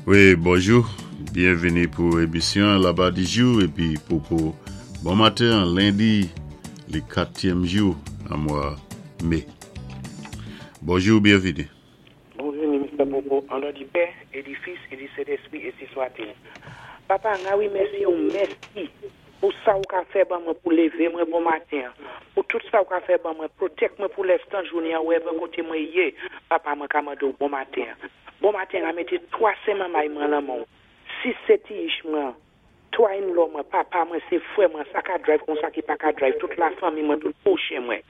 Wi, bonjou, byenvini pou emisyon Laba di jou épi Popo. Bon maten, lendi, li katyèm jou an mwa mé. Bonjou, byenvini. Bonvini, Mr. Popo, an non di Pè, é di Fis, é di Sentespri, énsi swa-t-il. Papa, nga wi mèsi ou mèsi pou sa ou ka fè ban mwen pou lévé mwen bon maten, pou tout sa ou ka fè ban mwen, protect mwen pou lèstan jounen an wherever koté mwen yé, papa mwen ka mandé ou bon maten. Bon maten, a mété twa sé manmay mwen lan men ou, sis sé ti ich mwen, twa in-law mwen, papa mwen, sé frè mwen, sa ka drive kon sa ki pa ka drive, tout la fanmi mwen, tout pwochen mwen.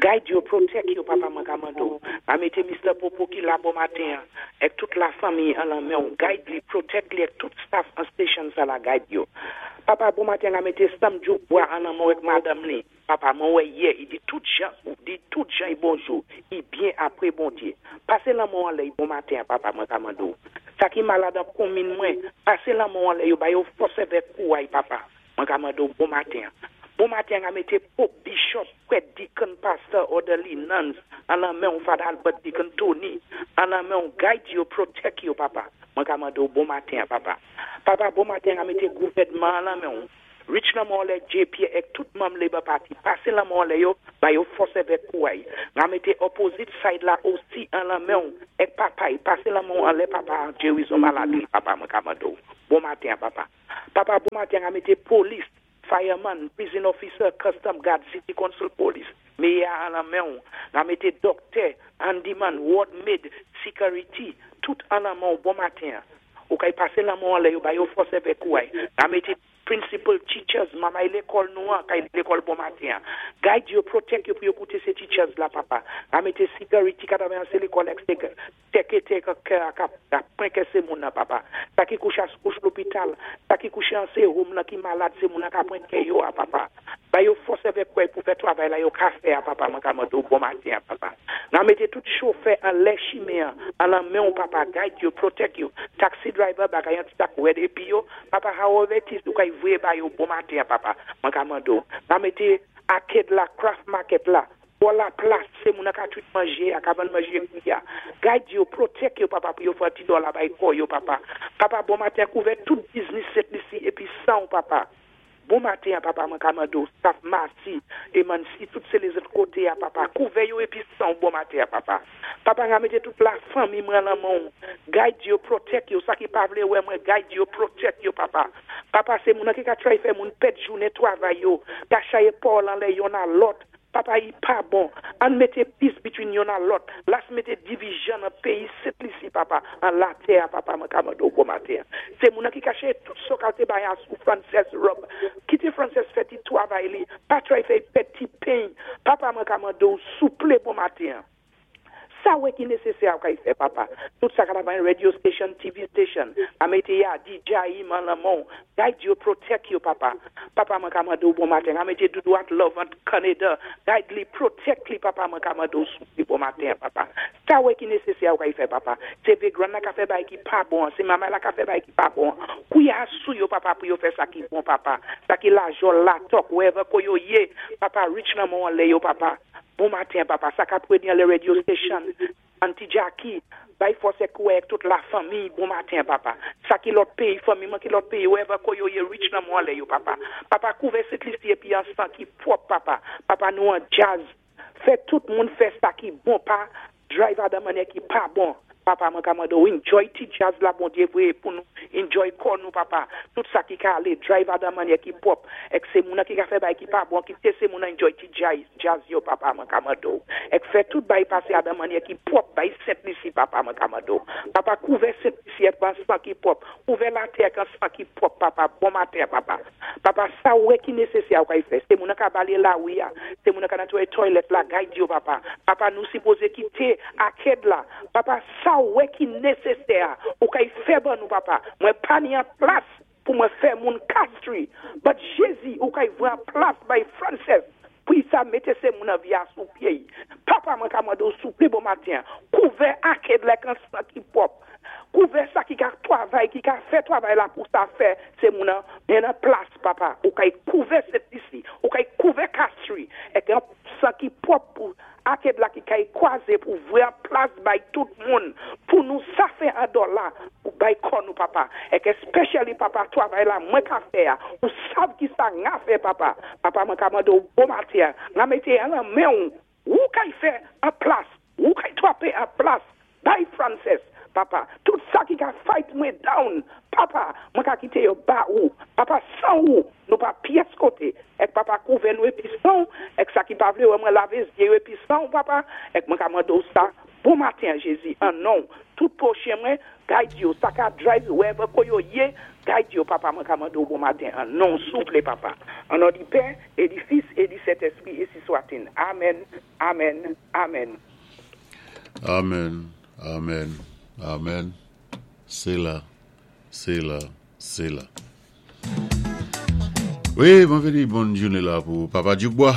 Guide yo, protect yo, papa mwen ka mande ou. A mété Mr. Popo ki la bon maten, èk tout la fanmi an lan men ou. Guide li, protect li, èk tout staff an station sa la guide yo. Papa, bon maten, a mété Sam Djouk an lan men ou èk madanm li. Papa, mwen wè yè, i di tout jan, ou di tout jan i bonjou, i byen apwé Bondyé. Pasé lan men ou anlè, i bon maten, papa, mwen ka mande ou. Sa ki malad an konmin mwen, pasé lan men ou anlè, yo ba yo fòs avèk kouray, papa. Mwen ka mande ou bon maten. Bon maten, a mété Pope, Bishop, prèt, deacon, pastor, orderly, nuns, an lan men ou Father Albert, Deacon Tony, an lan men ou guide yo, protect yo, papa. Mwen ka mande ou bon maten, papa. Papa, bon maten, a mété gouvèdman an lan men ou. Reach lan men ou anlè JP èk tout manm Labour Party. Pasé lan men ou anlè yo, ba yo fòs avèk kouray. Nga mété opposite side la osi an lan men ou, èk papa, pasé lan men ou anlè papa, Jerry malad li, papa, mwen ka mande ou. Bon maten, papa. Papa, bon maten, a mété police, fireman, prison officer, custom guard, city council police, mayor an lan men ou. Nga mété doctor, handyman, ward maid, security, tout an lan men ou, bon maten. Ou kay pasé lan men ou anlè yo, ba yo fòs avèk kouray. Nga mété principal teachers, mamay lékòl nou an, kay lékòl bon maten. Guide yo, protect yo pou yo kouté sé teachers la, papa. A mété security ka travay an sé lékòl ek teke teke ka ka pren sé moun nan, papa. Sa ki kouché kouch lopital, sa ki kouché an sé home nan ki malad, sé moun nan ka pren kè yo a, papa. Ba yo fòs avèk kouray pou fè travay la yo ka fè a, papa, mwen ka mande ou bon maten, papa. Nan mété tout chofè an lè chimen an lan men ou, papa, guide yo, protect yo. Taxi driver bagay an ti tak wèd épi yo, papa, however it is, ou kay voyé ba yo bon maten, papa, mwen ka mande ou. Nan mété arcade la, craft market la, pou la plas, sé moun ka tout manjé, a ka vann manjé ya. Guide yo, protect yo, papa, pou yo fè ti dòla bay kò yo, papa. Papa, bon maten, kouvè tout business Sent Lisi, épi san ou, papa. Bon maten, papa, mwen ka mande ou, staff Masi, et Mansi, tout sé lézòt koté a, papa. Kouvè yo épi san ou, bon maten, papa. Papa, nga mété tout la fanmi mwen lan men ou. Guide yo, protect yo, sa ki pa vlé wè mwen, guide yo, protect yo, papa. Papa, sé moun ki ka try fè moun pèd jounen twavay yo, ka chayé pawòl anlè yonn a lòt. Papa, i pa bon. Ann mété peace between yonn a lòt. Las mété division nan péyi Sent Lisi, papa. An latè, papa, mwen ka mande ou bon maten. Sé moun ki kaché tout so kalte bay sou Frances Rob. Kité Frances fè ti twavay li. Pa try fè pèd ti pen. Papa, mwen ka mande ou souplé bon maten. Sa wè ki nésésè a kay fè, papa. Tout sa ka travay radio station, TV station. A mété ya, DJ man lan men ou. Guide yo, protect yo, papa. Papa, mwen ka mande ou bon maten. A mété Doudou at Love an Canada. Guide li, protect li, papa, mwen ka mande ou souplé bon maten, papa. Sa wè ki nésésè a kay fè, papa. Sé Vegran la ka fè bay ki pa bon. Sé mama la ka fè bay ki pa bon. Kouya sou yo, papa, pou yo fè sa ki bon, papa. Sa ki la jol la tok, wherever ko yo yé. Papa, reach lan men ou anlè yo, papa. Bon maten, papa. Sa ka predi an le radio station. Auntie Jackie, bay fòs èk kouray tout la fanmi, bon maten, papa. Sa ki lòt péyi, fanmi mwen ki lòt péyi, wherever ko yo ye, reach lan men ou anlè yo, papa. Papa, kouvè Sent Lisi épi an san ki pwòp, papa. Papa, nou an jazz. Fè tout moun fè sa ki bon, pa drive a dan mannyè ki pa bon. Papa, mwen ka mande ou, enjoy ti jazz la, Bondyé voyé pou nou. Enjoy kò nou, papa. Tout sa ki ka alé, drive a dan mannyè ki pwòp. Èk sé moun ki ka fè bay ki pa bon, kité sé moun enjoy ti jazz, jazz yo, papa, mwen ka mande ou. Èk fè tout bay pasé a dan mannyè ki pwòp, bay Sent Lisi, papa, mwen ka mande ou. Papa, kouvè Sent Lisi èk an san ki pwòp. Kouvè latè ak an san ki pwòp, papa. Bon maten, papa. Papa, sa wè ki nésésè a ou kay fè. Sé moun ka balé la wi a. Sé moun ka netwayé toilet la, guide yo, papa. Papa, nou sipozé kité arcade la. Papa, sa wè ki nésésè a, ou kay fè ban nou, papa. Mwen pa ni an plas pou mwen fè moun Castries. But Jésus, ou kay vwe an plas bay Frances, pou sa mété sé moun an via sou pyé. Papa, mwen ka mande ou souplé bon maten. Kouvè arcade la kan san ki pwòp. Kouvè sa ki ka twavay, ki ka fè twavay la pou sa fè, sé moun an, men an plas, papa. Ou kay kouvè Sent Lisi, ou kay kouvè Castries, èk an san ki pwòp pou arcade la ki kay kwazé pou vwe an plas bay tout moun, pou nou sa fè. fè an dòla pou bay kò nou, Papa. Èk especially, Papa, twavay-la mwen ka fè, ou sav ki sa nga fè, Papa. Papa, mwen ka mandé ou bon maten, nga mété an lan men ou, ou kay fè an plas, ou kay twapé an plas, bay Frances, Papa. Tout sa ki ka fight mwen down, Papa, mwen ka kité yo ba ou. Papa, san ou, nou pa pyès koté. Èk Papa kouvè nou épi san'w, èk sa ki pa vlé wè mwen lavé zyé yo épi san'w, Papa, èk mwen ka mandé ou sa, bon maten, Jézi, an non, tout pwochen mwen, guide yo, sa ka drive wherever ko yo yé, guide yo, Papa, mwen ka mandé ou bon maten, an non, souplé, Papa. An non di Pè, é di Fis, é di Sentèspri, énsi swat-il. Amen, amen, amen. Amen, amen, amen. C'est là, c'est là, c'est là. Wi, byenvini, bòn jounen la pou Papa Djoukbois.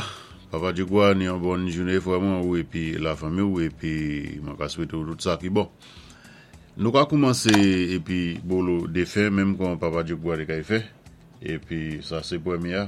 Papa Djoukbois, ni yon bòn jounen vrèman ou épi lafanmi ou épi mwen ka swété tout sa ki bon. Nou ka koumansé épi bolo défen menm kon Papa Djoukbois té kay fè. Épi sa sé pwémyé.